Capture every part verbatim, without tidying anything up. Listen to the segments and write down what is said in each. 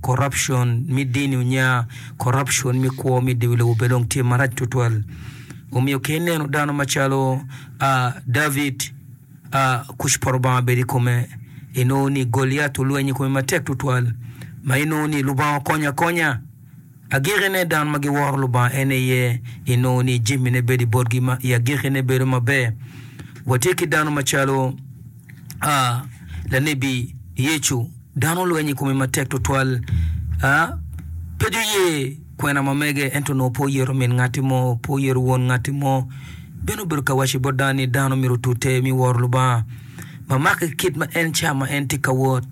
corruption me dini onya, corruption me kwo me dye wi lobo bene dong tye marac tutwal. Omiyo ka ineno dano macalo David, kuc pa Lubanga bedo i kome, inongo ni Goliath olwenyo i kome matek tutwal, ma inongo ni Lubanga okonyo akonya. Agikine dano ma giworo Lubanga en aye inongo ni jamine bedo i botgi ma i agikine bedo maber. Watye ki dano macalo lanebi Yecu, dano olwenyo i kome matek tutwal. Pe guye kwena ma mege ento onongo pe oyeto min ngatti mo, pe oyeto won ngatti mo. Bene obedo ka waco bot dano ni dano myero otute me woro Lubanga ma make ki kit ma en ca ma en tye ka wot.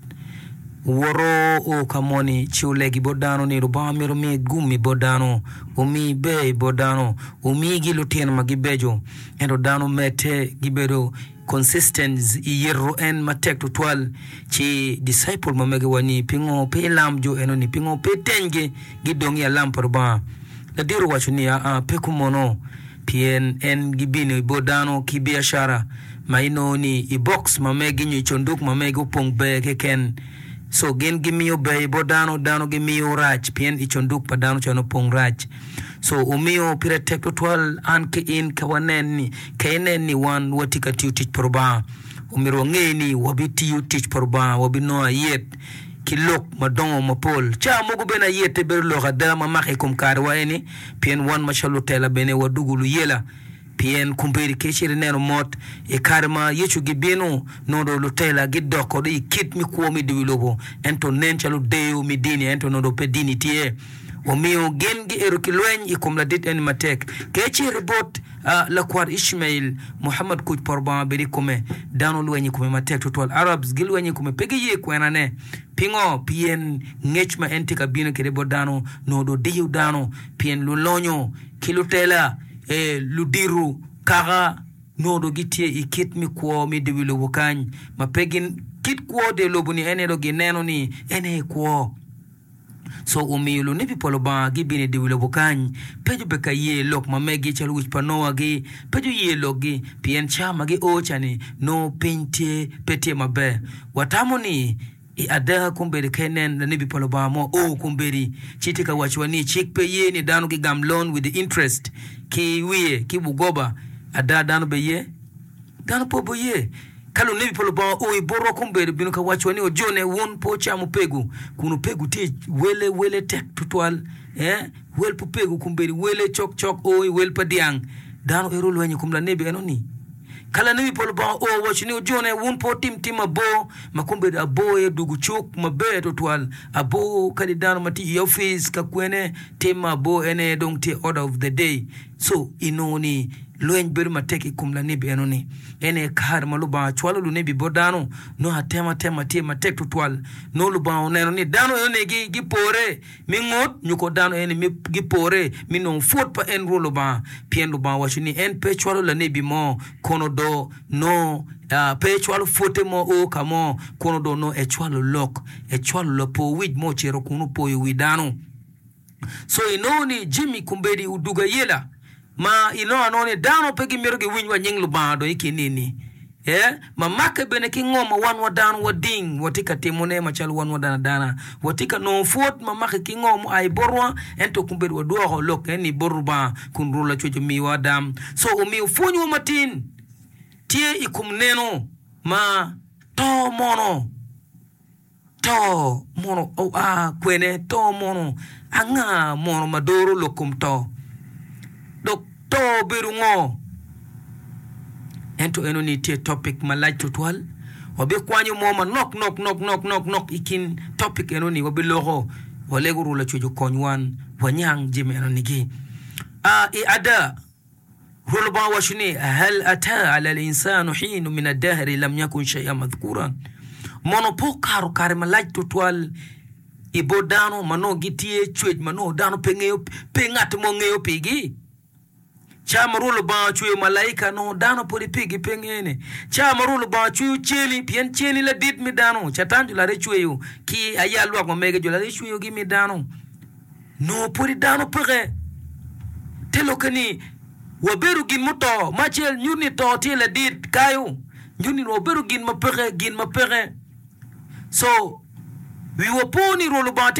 Owoto o ka moni ci olegi bot dano ni Lubanga myero omi gum-mi bot dano, omi ber bot dano, omigi lutino ma gibeco. Ento dano medde gibedo consistent i yito en matek tutwal. Ci disciple ma mege wa ni, Pingo pe ilam jo eno-ni? Pingo pe itenygi gidong i alam pa Lubanga? Ladit owaco ni, Aa, pe kumono, pien en gibino i bot dano ki biacara ma inongo ni i box ma megi nyo i cunduk ma megi opong ber keken. So gin gimiyo ber i bot dano, dano gimiyo rac pien i cunduk pa dano ca nongo opong rac. So omiyo pire tek tutwal an ki in ka wanen ni ka inen ni wan watye ka tiyo tic pa Lubanga, omyero wange ni wabitiyo tic pa Lubanga, wabinongo ayet ki lok madongo mapol. Ca mogo bene ayette bedo lok ada ma mako i kom karewa eni, pien wan macalo lutela bene wadugo luyela. Pien kombeddi ka icito ineno mot i kare ma Yecu gibino, nongo dong lutela gidoko dong i kit me kwo me dye wi lobo, ento nen calo deyo me dini, ento nongo dong pe dini tye. Omiyo gin giero ki lweny i kom ladit eni matek. Ka icito bot lakwar Icmail, Muhammad kuc pa Rubanga obed i kome, dano lwenyo i kome matek tutwal. Arabs gilwenyo i kome, pe giye kwenane. Pingo? Pien ngec ma en tye ka bino kwede bot dano nongo dong diyo dano, pien lulonyo ki lutela, ludito kaka nongo dong gitye i kit me kwo me dye wi lobo kany ma pe gin kit kwo dye lobo-ni en aye dong gineno ni en aye kwo. Co omiyo lunebi pa Lubanga gibino i dye wi lobo kany, pe gubed ka ye lok ma megi calo wic pa Noa-gi, pe guye lokgi, pien ca ma gio ca-ni nongo piny tye pe tye maber. Watamo ni i ada kombeddi ka inen lanebi pa Lubanga mo o kombeddi ci tye ka wacowa ni cik pe ye ni dano gigam loan with the interest ki wiye ki bugoba, ada dano be ye? Dano pe oboye. Ka lunebi pa Lubanga oo i botwa kombeddi, obino ka wacowa ni, Ojone, wun pe wucam opego, kun opego tye wele, wele tek twatwal. Ee, wel pa opego kombeddi wele cokcok o i wel pa dyang. Dano ero olwenyo i kom lanebi eno-ni. Ka lanebi pa Lubanga oo owaco ni, Ojone, wun pe wutim tim abor, ma kombeddi abor aye odwogo cuk maber twatwal. Abor kadi dano ma tye i opic ka kwene, tim ma abor en aye dong tye order of the day. Co inongo ni lweny bedo matek i kom lanebi eno-ni. En aye kare ma Lubanga cwalo lunebi bot dano, nongo atematema tye matek tutwal. Nongo Lubanga oneno ni dano eno-ni gipore me ngut, nyo ko dano eno-ni gipore me nongo pwod pa en Rwot Lubanga, pien Lubanga owaco ni en pe cwalo lanebi mo, kono do nongo pe ecwalo pwodde mo o ka mo, kono do nongo ecwalo lok, ecwalo lapo wic mo ocito kun opoyo wi dano. Co inongo ni jami kombeddi odugo ayela ma inongo anonga ni dano pe gimito giwiny wa nying Lubanga dong i kin nini ee ma make bene ki ngo ma wan wa dano wading watye ka timone macalo wan wa dano adana watye ka nongo pwod ma make ki ngo mua i botwa ento kombeddi wadwoko lok eni bot Lubanga kun Rwot Lacwec omiwa adam co omiyo pwonywa matin tye i kom neno ma to mono. To mono oa kwene? To mono anga mono ma doro lok kom to? Dok to obedo ngo? Ento eno ni tye topic malac tutwal. Wabikwanyo mo manok nok nok nok nok nok i kin topic eno ni wabiloko. Walego Rwot Lacwec okony wan wanyang jami eno nigi. I ada. Rwot Lubanga owaco ni, Hal ata ala al-insanu hinun min ad-dahri lam yakun shay'an madhkuran. Mono pe okato kare malac tutwal i bot dano ma nongo gitye cwec ma nongo dano pe ngeyo, pe ngat mo ngeyo pigi? Ca ma Rwot Lubanga ocweyo malaika nongo dano pwodi pigi pe ngene. Ca ma Rwot Lubanga ocweyo ceni, pien ceni ladit me dano, Catan jo lare cweyo ki aya lwak ma mege jo lare cweyogi me dano. Nongo pwodi dano peke. Te lokke ni wabedo gin muto, ma acel nyuto ni to tye ladit kayo, nyuto ni wabedo gin ma peke, gin ma peke. So, wiwa po ni Rwot Lubanga tye ka.